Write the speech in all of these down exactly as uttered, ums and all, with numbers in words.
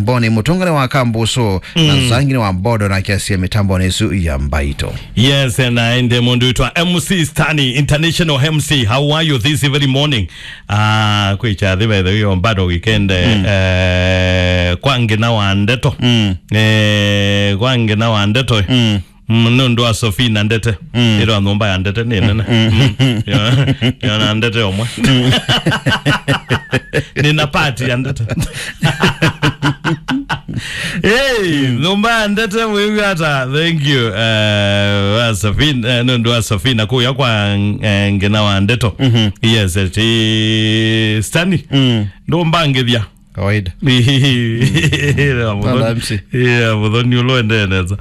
Boni, mũtũngane wa Kambusu, na Zangi nĩ wa Bodo na Kiasia mĩtambonĩ ĩsu ya Mbaitũ. Yes, na ende mũndũ wĩtwa M C Stani, international M C. How are you this very morning? Ah, kwĩ kyathĩ by the way, on bado weekend, eh, kwa ngina wa ndeto. Eh, kwa ngina wa ndeto. Mm, nĩ ũndũ wa Sofina Ndete. Ĩrwa nyũmba ya Ndete nĩ nene. Mm. Yo, yo na Ndete ũmwe. Nĩna party ya Ndete. Hey, nyũmba ya Ndete, wĩw'a ata? Thank you. Eh, wa Sofina, eh, nĩ ũndũ wa Sofina kũya kwa, eh, ngina wa ndeto. Yes, ti Stani. Ndũmbangĩthya. Kawaida. Ĩĩ, Panda Mũthoni. M C. Ĩĩ, Mũthoni ũla ũendee nesa.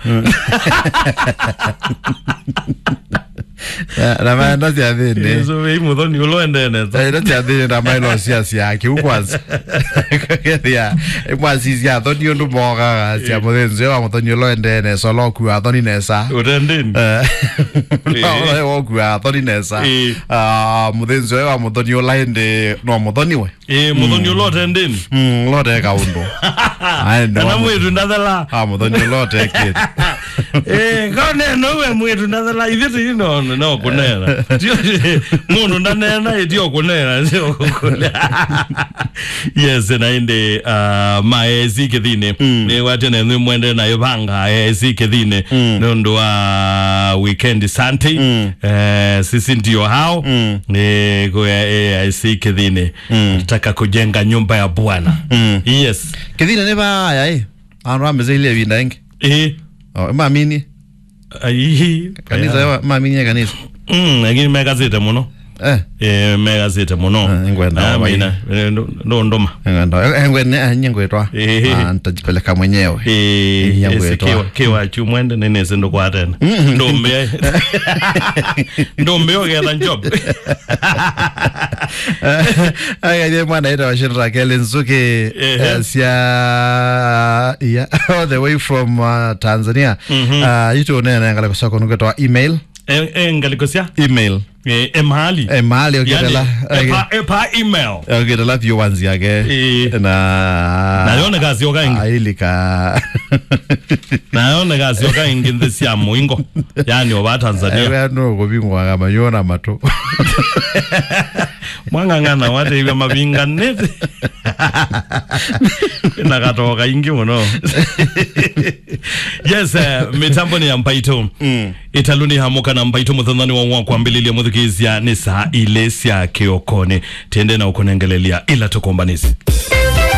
Na, na maenda syathĩnĩ. Ĩĩ, so, wĩ Mũthoni ũla ũendee nesa. Maenda syathĩnĩ na mailo sia sia kĩu kwanza. Kethia, mwasisya athoni ũndũ mogaga, sia mũthĩnzĩ wa Mũthoni ũla ũendee nesa, ũla ũkua athoni nesa. Ũtendĩnĩ. Eh. Ĩĩ. Ũla ũkua athoni nesa. Ĩĩ. Ah, mũthĩnzĩ wa Mũthoni ũla ĩndĩ no Mũthoni we. Ĩĩ, Mũthoni ũla ũtendĩnĩ. Mm, ũla ũteka ũndũ. Aende kana wa mwĩĩtu ndathela. Ah, Mũthoni ũla ũtekĩte. Ĩĩ, kaũneena ũwe mwĩĩtu ndathela, ithyĩ tũi no, no kũneena. Tio, mũndũ ndaneena, ĩtio kũneena, tio kũneena. Yes, na ĩndĩ, ah, ma A I C Kĩthĩnĩ. Nĩwatya na nĩ mwende na ĩvanga A I C Kĩthĩnĩ. Nĩ ũndũ wa weekend Sunday. Eh, sisi ndio hao. Eh, kwa A I C Kĩthĩnĩ. Nataka kujenga nyumba ya Bwana. Yes. Kĩthĩnĩ nĩ vaya, eh? Andũ amezeilie vinda ingi. Eh. Oh, mamini. Ai. Kanisa, eh, mamini ya kanisa. Mm, lakini mekasite mũno. Eh. Eh, mekasite mũno. Eh, ngwenda. Ah, mina, eh, ndo, ndo ndoma. Ngwenda. Eh, ngwenda, eh, nye ngwetwa. Eh. Ah, nitajipeleka mwenyewe. Eh, nye ngwetwa. Kiwa, kiwa chumwende nene sindo kwa tena. Ndombe. Ndombe ogetha job. Aya, ye mwana ĩtawa Shadrack Eli Nzuki, eh, sya, yeah, all the way from, uh, Tanzania. Ah, itu nene ngale kusoko nuketwa email. Eh, eh, ngalĩko sya? Email. Eh, e mahali. E mahali, yani, okitela, e pa, e pa email. Okitela view ones yake. Eh. Na nayoneka syoka ĩngĩ. Ailika. Nayoneka syoka ĩngĩ nthĩ sya mũingo. Yani, ova Tanzania. Ewe no kuvingwa kama yona matu. Mwang'ang'ana wateithia mavinganĩte. Na katoka ingi mũno. Yes, eh, mĩtambo nĩ ya Mbaitũ. Ĩtalũ nĩ hamũka na Mbaitũ mũthenyanĩ wa, wa kwambĩlĩlya mũthikĩĩsya nĩ saa ilĩ sya kĩokonĩ. Tĩende na ũkũnengelelia ila tũkombanĩsye.